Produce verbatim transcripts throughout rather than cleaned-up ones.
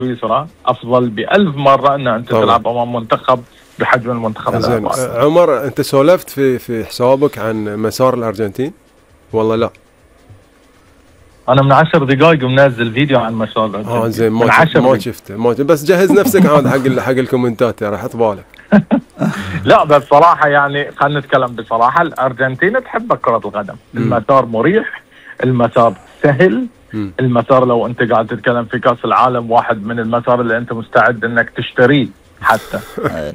سويسرا افضل بألف مره ان انت طبعا تلعب امام منتخب بحجم المنتخب زين. عمر انت سولفت في في حسابك عن مسار الارجنتين والله لا؟ انا من عشر دقائق منزل فيديو عن مسار الارجنتين. اه زين ما ما شفته ما بس جهز نفسك عاد حق حق الكومنتات راح حط بالك. لا بس صراحه يعني خلينا نتكلم بصراحه، الارجنتين تحب كره القدم، المسار مريح، المسار سهل، م. المسار لو انت قاعد تتكلم في كاس العالم واحد من المسار اللي انت مستعد انك تشتريه حتى.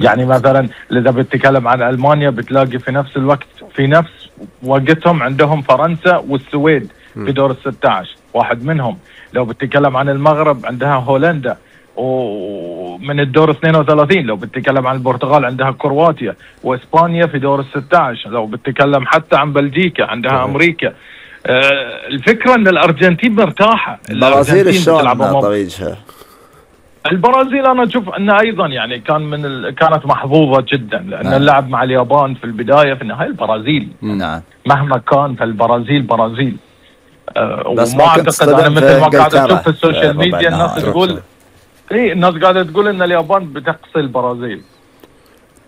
يعني مثلا اذا بتتكلم عن المانيا بتلاقي في نفس الوقت في نفس وقتهم عندهم فرنسا والسويد في دور الستة عشر واحد منهم. لو بتتكلم عن المغرب عندها هولندا ومن الدور اثنين وثلاثين. لو بتتكلم عن البرتغال عندها كرواتيا، واسبانيا في دور الستة عشر. لو بتتكلم حتى عن بلجيكا عندها امريكا. آه الفكره ان الارجنتين مرتاحه. البرازيل شلون طريقها؟ البرازيل انا اشوف انه ايضا يعني كان من ال... كانت محظوظه جدا، لان نعم. اللعب مع اليابان في البدايه في النهايه البرازيل نعم مهما كان فالبرازيل برازيل. أه وما اعتقد انا مثل ما قاعد اشوف في السوشيال ميديا الناس تقول اي الناس قاعده تقول ان اليابان بتقصي البرازيل.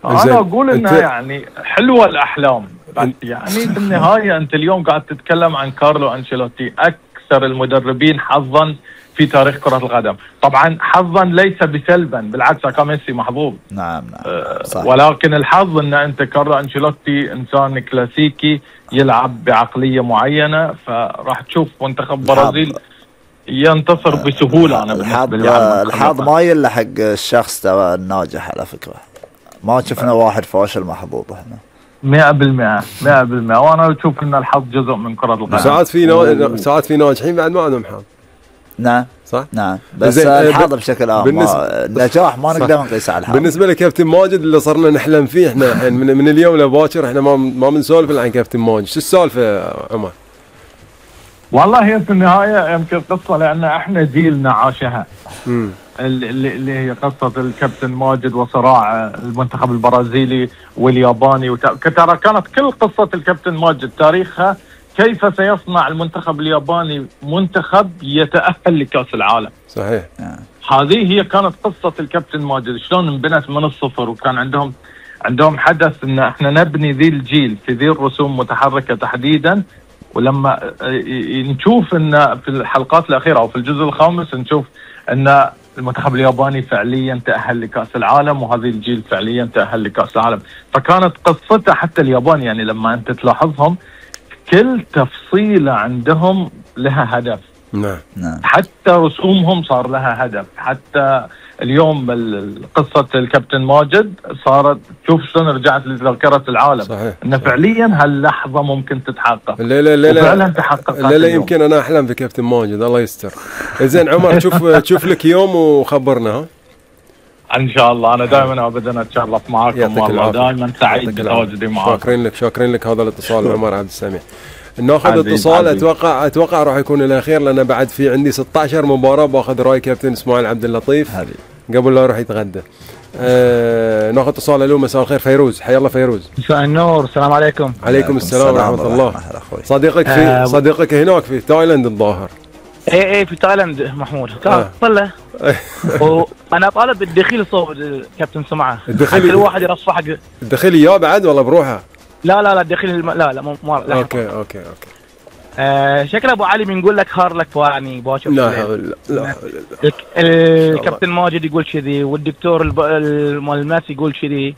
انا اقول انها يعني حلوه الاحلام، بس يعني في النهايه انت اليوم قاعد تتكلم عن كارلو انشيلوتي اكثر المدربين حظا في تاريخ كرة القدم. طبعا حظا ليس بسلبا، بالعكس كان ميسي محظوظ. نعم نعم صحيح. ولكن الحظ ان انت كارلو انشيلوتي انسان كلاسيكي يلعب بعقلية معينة، فراح تشوف منتخب برازيل ينتصر بسهولة. انا الحظ الحظ ما يلحق الشخص ترى الناجح على فكرة، ما شفنا واحد فاشل محظوظ احنا مئة بالمئة مئة بالمئة وانا اشوف ان الحظ جزء من كرة القدم. ساعات في نو... ساعات في ناجحين بعد ما عندهم حظ. نعم صح؟ نعم بس الحظ بشكل عام بالنسبة... النجاح ما نقدر نقيسه على الحظ. بالنسبة لكابتن ماجد اللي صرنا نحلم فيه احنا الحين من, من اليوم لباكر احنا ما ما بنسولف عن كابتن ماجد، شو السالفة يا عمر؟ والله هي في النهاية يمكن قصة لأن احنا جيلنا عاشها. امم اللي, اللي هي قصة الكابتن ماجد وصراع المنتخب البرازيلي والياباني وت... ترى كانت كل قصة الكابتن ماجد تاريخها كيف سيصنع المنتخب الياباني منتخب يتأهل لكأس العالم. صحيح. هذه هي كانت قصة الكابتن ماجد، شلون انبنت من الصفر، وكان عندهم عندهم حدث ان احنا نبني ذي الجيل في ذي الرسوم متحركة تحديدا. ولما نشوف ان في الحلقات الأخيرة او في الجزء الخامس نشوف ان المنتخب الياباني فعليا تأهل لكأس العالم، وهذه الجيل فعليا تأهل لكأس العالم. فكانت قصته حتى اليابان يعني لما انت تلاحظهم كل تفصيلة عندهم لها هدف. نعم نعم. حتى رسومهم صار لها هدف. حتى اليوم قصة الكابتن ماجد صارت تشوف شلون رجعت لذاكرة العالم. صحيح. ان فعليا هاللحظة ممكن تتحقق. لا لا لا وفعلا تحققت. لا لا يمكن انا احلم في كابتن ماجد الله يستر. زين عمر شوف تشوف لك يوم وخبرنا. ها ان شاء الله. انا دائما ابدا اتشرف معاكم والله، دائما سعيد بتواجدي معاكم. شاكرين لك شاكرين لك هذا الاتصال عمر عبد السميع. ناخذ اتصال. اتوقع اتوقع راح يكون الاخير لان بعد في عندي ستة عشر مباراه باخذ راي كابتن اسماعيل عبد اللطيف هذه قبل لا يروح يتغدى. آه ناخذ اتصال. الو مساء الخير فيروز، حيا الله فيروز. مساء النور، السلام عليكم. عليكم السلام ورحمه الله. صديقك في آه صديقك هناك في تايلاند الظاهر. اي اي في تايلاند محمود. آه. طلع وانا طالب الدخيل صوب الكابتن سمعه. الدخيل كل واحد يرفع حق الدخيل يا بعد والله بروحه. لا لا لا الدخيل الم... لا لا مو لا اوكي اوكي اوكي آه شكل ابو علي بنقول لك هار لك فاني باشوف. لا لا لا الكابتن ماجد يقول كذي والدكتور المالماس يقول كذي.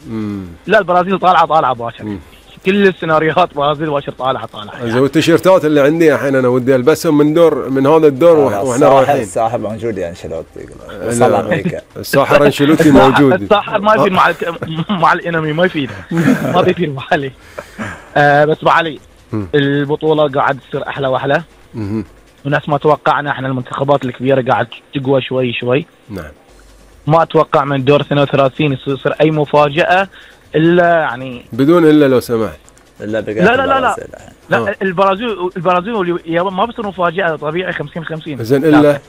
لا البرازيل طالعه طالعه باشر. كل السيناريوهات برازيل باشر طالعه طالعه. زين والتيشيرتات اللي عندي الحين انا ودي البسهم من دور من هذا الدور واحنا رايحين. الساحر موجود يا انشيلوتي وصل امريكا. الساحر انشيلوتي موجود. الساحر ما يفيد مع مع الانمي ما يفيد ما بيفيد ابو علي. آه بس ابو علي البطوله قاعد تصير احلى واحلى. وناس ما توقعنا احنا المنتخبات الكبيره قاعد تقوى شوي شوي. نعم. ما اتوقع من دور اثنين وثلاثين يصير اي مفاجاه الا يعني بدون الا لو سمحت. الا لا لا لا لا, لا البرازيل البرازيل واليابان ما بصير مفاجاه طبيعي خمسين خمسين. زين الا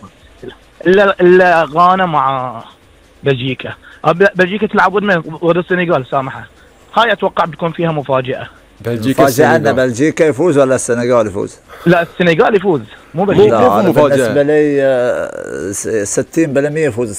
الا الا غانا مع بلجيكا. بلجيكا تلعب ضد ضد السنغال سامحه. هاي اتوقع بتكون فيها مفاجاه. بلجيكا مفاجأة ان بلجيكا يفوز ولا السنغال يفوز؟ لا السنغال يفوز مو لا بلجيكا. بالنسبة لي ستين بالمية يفوز